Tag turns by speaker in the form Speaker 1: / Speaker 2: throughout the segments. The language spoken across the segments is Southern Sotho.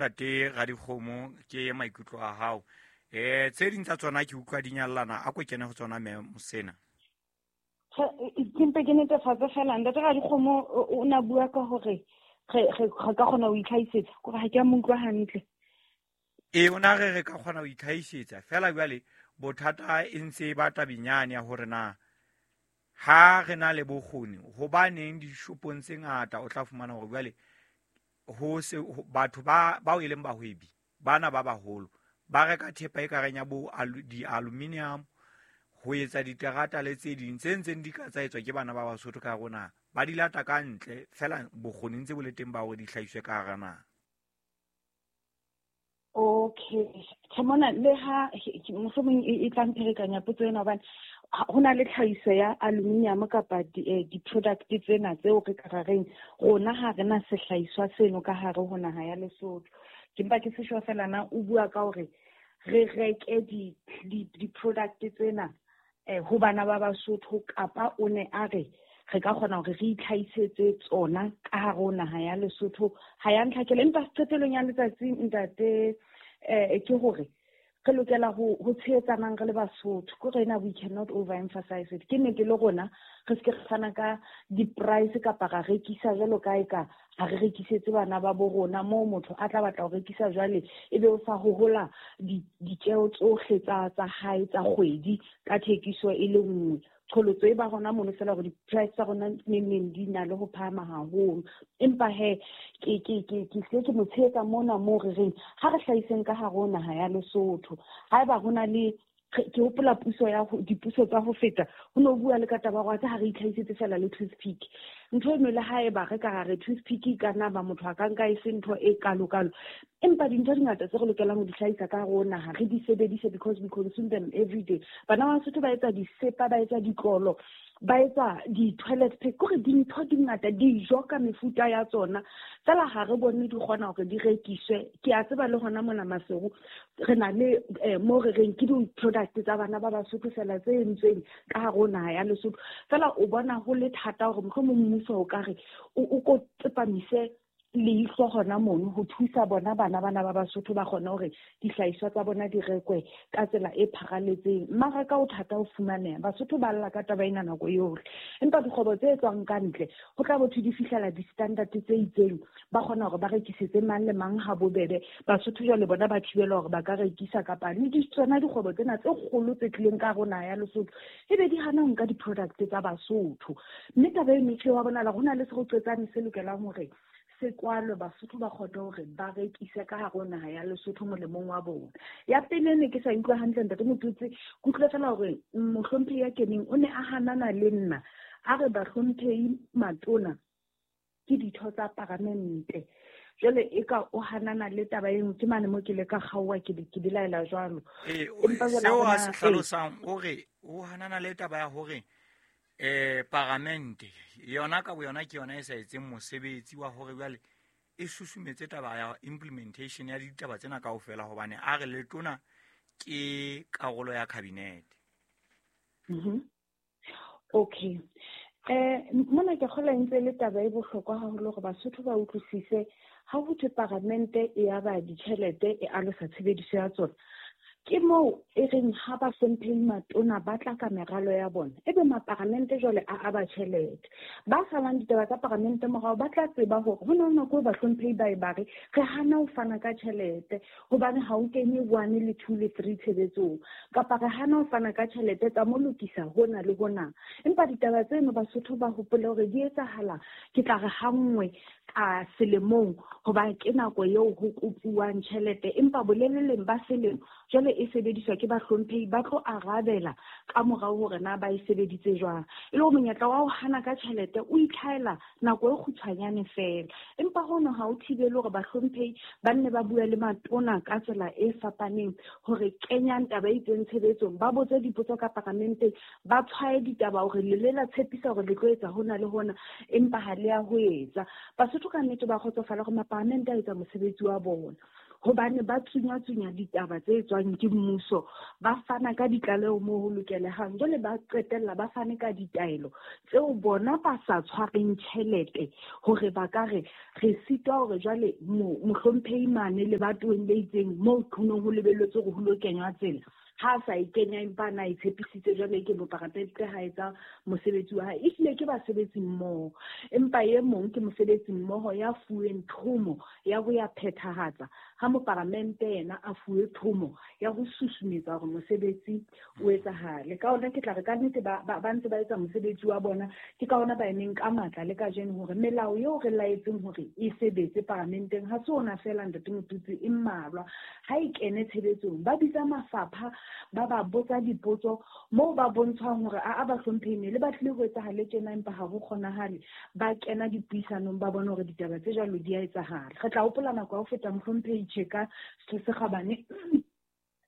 Speaker 1: Ntate Radikgomo, ke maikutlo a hao. Tse ding tsa tsona ke utlwa di nyallana, a ko kene ho tsona mme Mosena.
Speaker 2: Ke mpe ke netefatse fela, Ntate Radikgomo o na bua ka hore re ka kgona ho itlhahisetsa, kore ha ke a mo utlwa hantle.
Speaker 1: Ee, o na re re ka kgona ho itlhahisetsa fela jwale bothata e ntse e ba tabenyane ya hore na ha re na le bokgoni hobaneng dishopong tse ngata o tla fumana hore jwale ho se batho ba bao e leng bahwebi bana ba baholo ba reka thepa e kareng ya bo di-aluminium ho etsa diterata le tse ding tse ntseng di ka tsa etswa ke bana ba Basotho ka rona, ba di lata ka ntle fela bokgoni ntse bo le teng ba hore di hlahiswe ka hara naha.
Speaker 2: Okay, tjhe mona le ha mohlomong e tla mpherekanya potso ena, hobane ho na le tlhahiso ya aluminium kapa di-product tsena tseo re ka ra reng rona ha re na sehlahiswa seno ka hare ho naha ya Lesotho. Ke mpa ke se sure fela na o bua ka hore re reke di-product tsena ho bana ba Basotho, kapa o ne a re re ka kgona hore re itlhahisetse tsona ka hare ho naha ya Lesotho. Ha ya ntlhakela, empa qetellong ya letsatsi ntate, ke hore re lokela ho tshehetsanang re le Basotho. Ke hore ena we cannot overemphasize it. Ke nnete le rona re se ke re fana ka di-price kapa ra rekisa jwalo ka eka ha re rekisetse bana ba bo rona, moo motho a tla batla ho rekisa jwale ebe o sa hohola ditjeo tsohle tsa hae tsa kgwedi ka thekiso e le nngwe. Qholotso e ba hona mono fela hore di-price tsa rona neng neng di na le ho phahama haholo. Empa he, ke hlile ke mo tshehetsa mona moo re reng ha re hlahiseng ka hare ho naha ya Lesotho. Haeba ho na le, ke hopola puso ya ho, dipuso tsa ho feta, ho no bua le ka taba ya hore ha re itlhahisetse fela le toothpick. Ntho eno le haeba re ka ra re toothpick e ka nna ba motho a ka nka e se ntho e kalo-kalo, empa dintho di ngata tse re lokelang ho di hlahisa ka hare ho naha, re di sebedise because we consume them every day. Bana ba Basotho ba etsa disepa, ba etsa ditlolo, ba etsa di-toilet pack, kore dintho di ngata, dijo ka mefuta ya tsona, fela ha re bone di kgona hore di rekiswe. Ke a tseba le hona mona Maseru re na le mo re reng ke di-product tsa bana ba Basotho fela tse entsweng ka hare ho naha ya Lesotho. Fela o bona ho le thata hore mohlomong mmuso o ka re o ko tsepamise leihlo hona mono ho thusa bona bana bana ba Basotho ba kgone hore dihlahiswa tsa bona di rekwe ka tsela e pharaletseng. Mmaraka o thata ho fumaneha, Basotho ba lla ka taba ena nako yohle, empa dikgwebo tse tswang ka ntle ho tla botho di fihlela di-standard tse itseng, ba kgona hore ba rekisetse mang le mang ha bobebe. Basotho jwale bona ba thibelwa hore ba ka rekisa, kapa le tsona dikgwebo tsena tse kgolo tse tlileng ka hare ho naha ya Lesotho ebe di hana ho nka di-product tsa Basotho. Mme taba eno e hlile wa bonahala ho na le seroqetsane se lokelang hore se kwalwe, Basotho ba kgone hore ba rekise ka hare ho naha ya Lesotho molemong wa bona. Ya pele ne ke sa utlwa hantle Ntate Motutsi, ke utlwile fela hore mohlomphehi ya keneng o ne a hanana le nna, a re bahlomphehi matona ke ditho tsa paramente. Jwale e ka o hanana le taba eno, ke mane mo ke le ka kgaoha ke ke belaela jwalo. Empa jwale
Speaker 1: Seo
Speaker 2: ha
Speaker 1: a se
Speaker 2: hona, ee.
Speaker 1: hlalosang, o re o hanana le taba ya hore paramente yona ka boyona ke yona e sa etseng mosebetsi wa hore jwale e susumetse taba ya implementation ya ditaba tsena kaofela, hobane a re letona ke karolo ya cabinet.
Speaker 2: Okay. Mona ke kgolwa e ntse e le taba e bohlokwa haholo hore Basotho ba utlwisise ha ho thwe paramente e aba ditjhelete e alosa tshebediso ya tsona. Ke moo e reng ha ba hlomphehi matona ba tla ka meralo ya bona, ebe maparamente jwale a aba tjhelete. Ba salang ditaba tsa paramente morao ba tla tseba hore ho na le nako eo bahlomphehi ba e ba re, re hana ho fana ka tjhelete hobane ha o kenye 1 le 2 le 3 tshebetsong, kapa re hana ho fana ka tjhelete tsa mo lokisa hona le hona. Empa ditaba tseno Basotho ba hopole hore di etsahala, ke tla re ha nngwe ka selemong, hoba ke nako eo ho kopuwang tjhelete, empa boleleleng ba selemo jwale e sebediswa ke bahlomphehi ba tlo arabela ka morao hore na ba e sebeditse jwang. E le hore monyetla wa ho hana ka tjhelete o itlhaela nako e kgutshwanyane fela, empa hono ha o thibele hore bahlomphehi ba nne ba bue le matona ka tsela e fapaneng hore kenyang taba e itseng tshebetsong, ba botse dipotso ka paramenteng, ba tshwaye ditaba hore le le la tshepisa hore le tlo etsa hona le hona, empa ha le ya ho etsa. Basotho ka nnete ba kgotsofala hore maparamente a etsa mosebetsi wa bona. Hobane ba tsunya-tsunya ditaba tse tswang ke mmuso, ba fana ka ditlaleho moo ho lokelehang, jwale ba qetella ba fane ka ditaelo tseo bona ba sa tshwareng tjhelete hore ba ka re re sitwa hore jwale mohlomphehi mane lebatoweng le itseng moo ho neng ho lebelletswe hore ho lo kenywa tsela, ha sa e kenya empa na e tshepisitse jwale ke moparamente ha etsa mosebetsi wa hae. Ehlile ke basebetsi mmoho, empa e mong ke mosebetsi mmoho ya fuweng thomo ya ho ya phethahatsa, ha moparamente yena a fuwe thomo ya ho susumetsa hore mosebetsi o etsahale. Ka hona ke tla re ka nnete ba ntse ba etsa mosebetsi wa bona, ke ka hona ba emeng ka matla le kajeno hore melao eo re laetseng hore e sebetse paramenteng ha se ona feela Ntate Motutsi, e mmalwa. Ha e kene tshebetsong, ba bitsa mafapha, ba ba botsa dipotso moo ba bontshwang hore a ba hlomphehi ne le batlile ho etsahale tjena empa ha ho kgonahale, ba kena dipuisanong ba bone hore ditaba tse jwalo di a etsahala. Re tla hopola nako ya ho feta mohlomphehi Tjheka Setho se Kgabane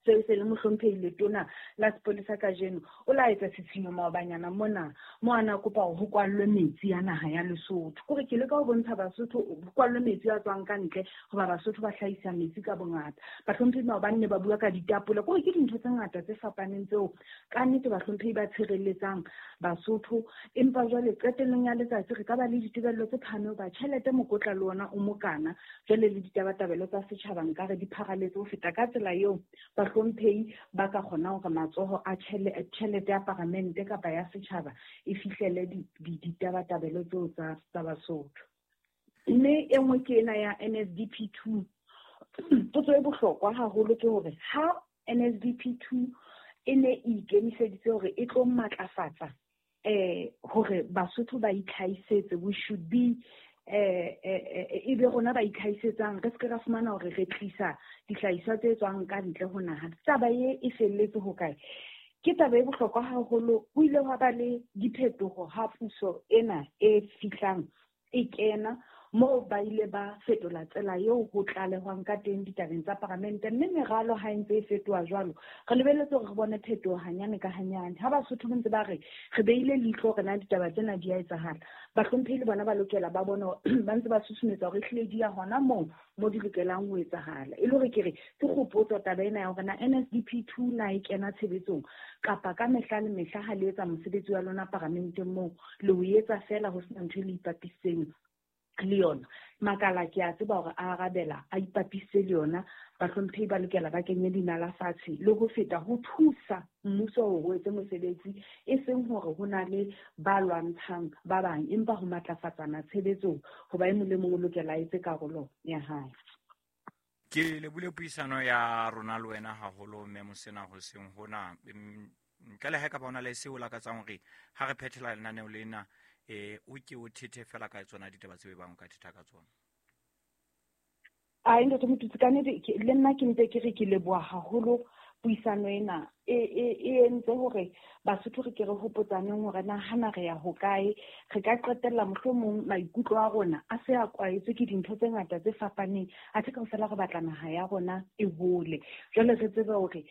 Speaker 2: seo se le mohlomphehi letona la sepolesa kajeno, o la etsa tshitshinyo maobanyana mona mo a na kopa hore ho kwallwe metsi a naha ya Lesotho. Kore ke leka ho bontsha Basotho ho kwallwe metsi a tswang ka ntle hoba Basotho ba hlahisa metsi ka bongata. Bahlomphehi maobane ne ba bua ka ditapole, kore ke dintho tse ngata tse fapaneng tseo ka nnete bahlomphehi ba tshireletsang Basotho. Empa jwale qetellong ya letsatsi re ka ba le ditebello tse phahameng hoba tjhelete mokotla le ona o mokana, jwale le ditabatabelo tsa setjhaba nkare di pharaletse ho feta ka tsela eo bahlomphehi ba ka kgona hore matsoho a tjhelete ya paramente kapa ya setjhaba e fihlele ditabatabelo tseo tsa Basotho. Mme e nngwe ke ena ya NSDP 2. Potso e bohlokwa haholo ke hore ha NSDP 2 e ne e ikemiseditse hore e tlo matlafatsa hore Basotho ba itlhahisetse, we should be e be rona ba itlhahisetsang, re se ke ra fumana hore re tlisa dihlahiswa tse tswang ka ntle ho naha. Taba e felletse ho kae? Ke taba e bohlokwa haholo. Ho ile hwa ba le diphetoho ha puso ena e fihlang e kena, moo ba ile ba fetola tsela eo ho tlalehwang ka teng ditabeng tsa paramente, mme meralo ha e ntse e fetoha jwalo, re lebelletse hore re bone phetoho hanyane ka hanyane. Ha Basotho ba ntse ba re re beile leihlo hore na ditaba tsena di a etsahala, bahlomphehi le bona ba lokela ba bone ba ntse ba susumetsa hore ehlile di ya hona moo mo di lokelang ho etsahala. E le hore ke re ke kgopotso taba ena ya hore na NSDP 2 na e kena tshebetsong kapa ka mehla le mehla ha le etsa mosebetsi wa lona paramenteng moo le o etsa feela ho sena ntho e le ipapisitseng le yona. Makala ke a tseba hore a arabela a ipapise le yona, bahlomphehi ba lokela ba kenye dinala fatshe le ho feta ho thusa mmuso hore o etse mosebetsi, e seng hore ho na le ba lwantshang ba bang, empa ho matlafatsana tshebetsong hoba e mong le mong o lokela a etse karolo ya hae.
Speaker 1: Ke lebule puisano ya rona le wena haholo mme Mosena hoseng hona. Ntle le ha ekaba ho na le seo o lakatsang hore ha re phethela lenaneo lena, o ke o thethe fela ka tsona ditaba tseo e bang o ka thetha ka tsona.
Speaker 2: Ai, Ntate Motutsi, ka nnete le nna ke mpe ke re ke leboha haholo puisano ena e entse hore Basotho re ke re hopotsaneng hore na hana re ya hokae. Re ka qetella mohlomong maikutlo a rona a se a kwaetswe ke dintho tse ngata tse fapaneng, athe kaofela re batla naha ya rona e hole. Jwale re tsebe hore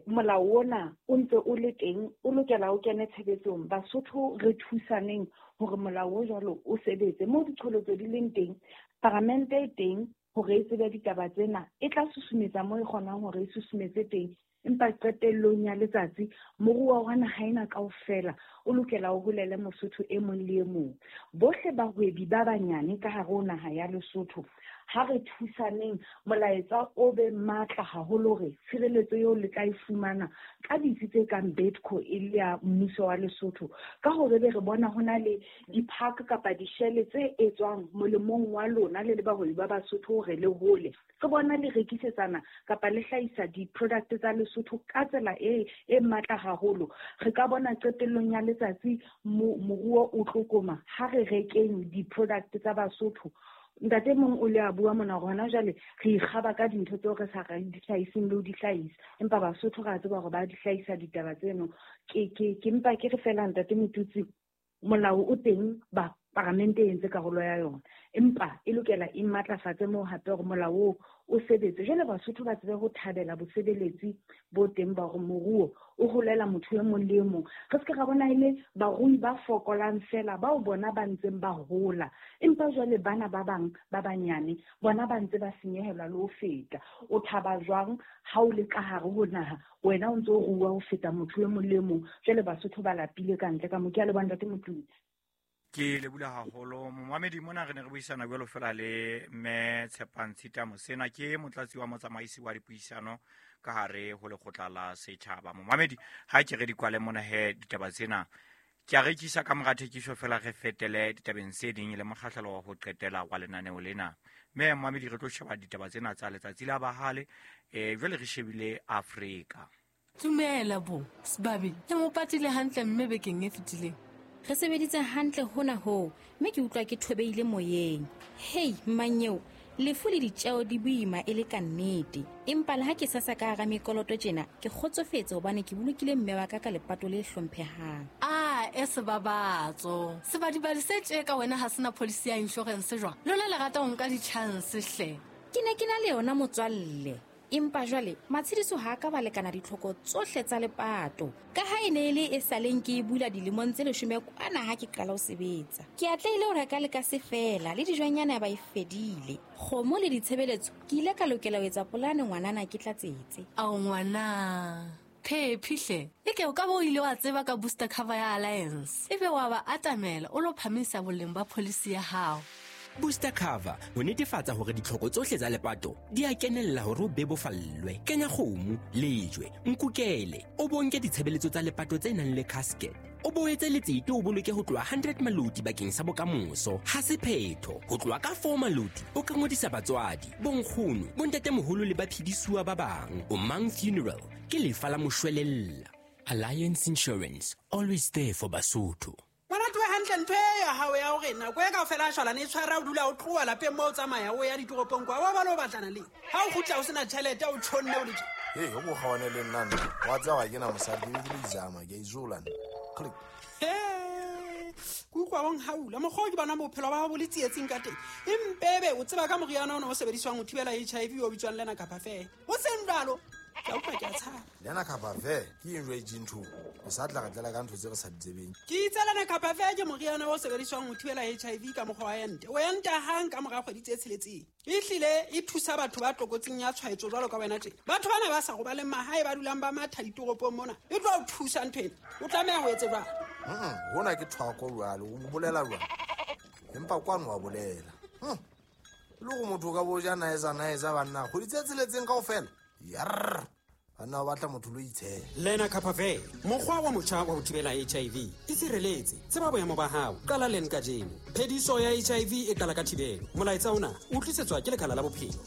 Speaker 2: molao ona o ntse o le teng, o lokela o kene tshebetsong. Basotho re thusaneng hore molao o jwalo o sebetse. Moo diqholotso di leng teng, paramente e teng hore e tsebe ditaba tsena, e tla susumetsa moo e kgonang hore e susumetse teng. Empa qetellong ya letsatsi moruo wa naha ena kaofela o lokela o holele Mosotho e mong le e mong. Bohle bahwebi ba banyane ka hare ho naha ya Lesotho, ha re thusaneng molaetsa o be matla haholo hore tshireletso eo le tla e fumana ka ditsi tse kang Bedco e le ya mmuso wa Lesotho, ka hore be re bona ho na le di-park kapa dishele tse etswang molemong wa lona le le bahwebi ba Basotho hore le hole. Re bona le rekisetsana kapa le hlahisa di-product tsa Lesotho ka tsela e matla haholo. Re ka bona qetellong ya letsatsi moruo o tlokoma ha re rekeng di-product tsa Basotho. Ntate mong o le a bua mona hore hona jwale re ikgaba ka dintho tseo re sa di hlahiseng le ho di hlahisa, empa Basotho re a tseba hore ba di hlahisa ditaba tseno. Ke mpa ke re fela Ntate Motutsi, molao o teng, ba paramente e entse karolo ya yona, empa e lokela e matlafatse moo hape hore molao oo o sebetse. Jwale Basotho ba tsebe ho thabela bosebeletsi bo teng ba hore moruo o holela motho e mong le e mong. Re se ke ra bona e le barui ba fokolang fela bao bona ba ntseng ba hola, empa jwale bana ba bang ba banyane bona ba ntse ba senyehelwa le ho feta. O thaba jwang ha o le ka hare ho naha, wena o ntse o rua ho feta motho e mong le e mong? Jwale Basotho ba lapile ka ntle ka mo. Ke a leboha, Ntate Motlatsi.
Speaker 1: Ke lebula haholo momamedi. Mona re ne re buisana jwalo fela le mme Tshepang Tshita Mosena, ke motlatsi wa motsamaisi wa dipuisano ka hare ho lekgotla la setjhaba. Momamedi, ha ke re di kwale mona he ditaba tsena, ke a rekisa ka mora thekiso fela, re fetele ditabeng tse ding le mokgahlelo wa ho qetela wa lenaneo lena. Mme momamedi, re tlo sheba ditaba tsena tsa letsatsi la bahale, jwale re shebile Afrika.
Speaker 3: Dumela bo sebabi, le mo patile hantle mme bekeng e fetileng.
Speaker 4: Re sebeditse hantle hona hoo, mme ke utlwa ke thobeile moyeng. Hei mmanyeo, lefu le ditjeo di boima e le ka nnete, empa le ha ke sasa ka hara mekoloto tjena, ke kgotsofetse hobane ke bolokile mme wa ka ka lepato le hlomphehang.
Speaker 3: A e sebabatso sebadibadi se tje ka wena ha sena policy ya insurance jwang? Lona le rata ho nka di-chance hle.
Speaker 4: Ke ne ke na le yona motswalle, empa jwale matshediso ha a ka ba lekana ditlhoko tsohle tsa lepato, ka ha e ne e le e saleng ke e bula dilemong tse 10 kwana ha ke qala ho sebetsa. Ke atlehile ho reka le ka se fela le dijonyana ba e fedile, kgomo le ditshebeletso. Ke ile ka lokela ho etsa polane ngwanana ke tlatsetse.
Speaker 3: Ao ngwana phephi hle, e ke o ka bo o ile wa tseba ka booster cover ya Alliance, ebe wa ba atamela o lo phamisa boleng ba policy ya hao.
Speaker 5: Booster cover ho netefatsa hore ditlhoko tsohle tsa lepato di a kenella hore o bebofallwe. Kenya kgomo, lejwe, nkukele, o bonke ditshebeletso tsa lepato tse nang le casket, o boetse letsete, o boloke ho tloha 100 maloti bakeng sa bokamoso. Ha se phetho, ho tloha ka 4 maloti o ka ngodisa batswadi, bonkgono, bontatemoholo le baphedisuwa ba bang. O mang funeral ke lefa la moshwelella. Alliance Insurance, always there for Basotho.
Speaker 6: Ngwana tloe hantle, ntho e ya hao ya hore nako e kaofela a shwalane e tshwara, o dula o tloha lapeng mo, o tsamaya o ya ditoropong kwa, wa bale o batlana le ha o kgutla o sena tjhelete, o tjhonne o le tje.
Speaker 7: Ee, o ko kgaone le nna nna wa tseba ga ke na mosadi, ke be ke le izama, ke a izola nna. Click.
Speaker 6: He, ke utlwa o nhaula mokgwa o ke bona bophelo ba hao bo le tsietsing ka teng, empebe o tseba ka moriana ona o sebediswang ho thibela HIV o bitswang lena kapa fela o seng jwalo, ke a utlwa, ke a tshaba.
Speaker 7: Lena kapa fe ke eng jwa itseng ntho o sa tla re tlela ka ntho tse re sa di tsebeng?
Speaker 6: Ke itse lena kapa fe ke moriana o sebediswang ho thibela HIV ka mokgwa wa ente, o enta hang ka mora kgwedi tse 6. Ehlile e thusa batho ba tlokotsing ya tshwaetso jwalo ka wena tjena, batho bana ba sa robaleng mahae, ba dulang ba matha ditoropong mona. E tlo o thusa ntho ena, o tlameha ho etse jwang?
Speaker 7: Hona ke thwako jwalo, o bolela jwang, empa kwano wa bolela. Le gore motho o ka bo ja naetsa naetsa banna kgwedi tse 6 kaofela, yarr, banna ba batla motho lo itshela.
Speaker 6: Lena kapa fe mokgwa wa motjha wa ho thibela HIV. E sireletse, tseba boemo ba hao, qala len kajeno. Phediso ya HIV e qala ka thibelo. Molaetsa ona o tlisetswa ke lekala la bophelo.